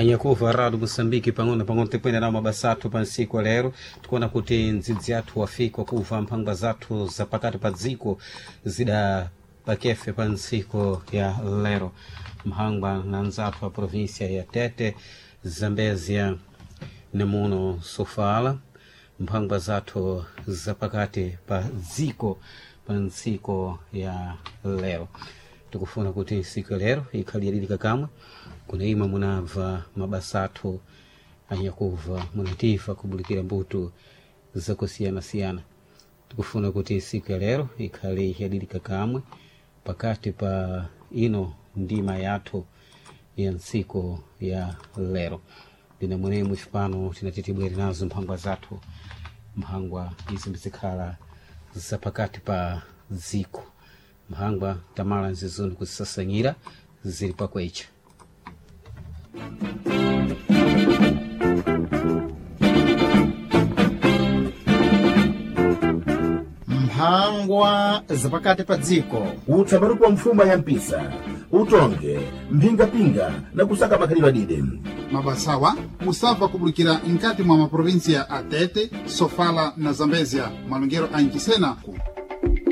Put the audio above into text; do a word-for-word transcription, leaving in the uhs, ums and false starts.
Anyakuva rado Moçambique, pang'ono pang'ono tikwenda nawo mabasa athu pa ntsiku lero. Tikuona kuti ndzidzi athu wafika kuva mphangwa zathu za pakati pa dziko zida pakefe pa ntsiku ya lero, mphangwa na nzathu a província ya Tete, Zambezia nemuno Sofala, mphangwa zathu zapakati pa dziko pa ntsiku ya lero. Tikufuna kuti ntsiku ya lero ikhale yadilika kamwe kuna imwe munabva mabasa athu anyakuva munativa kubulikira mbuto zakusiyanasiyana. Tikufuna kuti siku ya lero ikhale yadilika kamwe pakati pa ino ndima yathu ya ntsiku ya lero. Ndine mwenemwe cipano tinati tibwere nazo mphangwa zathu, mphangwa izi mbizikhala zapakati pa dziko, mphangwa tamala nzizoni kuzisasanyira zili pakwecha. Mphangwa zapakati pa dziko. Utsabarupa mfuma ya mpisa, utonge mphingapinga na kusaka makhalidwe adide. Mabasawa musabva kubulikira nkati mwa maprovinsia a Tete, Sofala na Zambezia, malongero a Nchisena.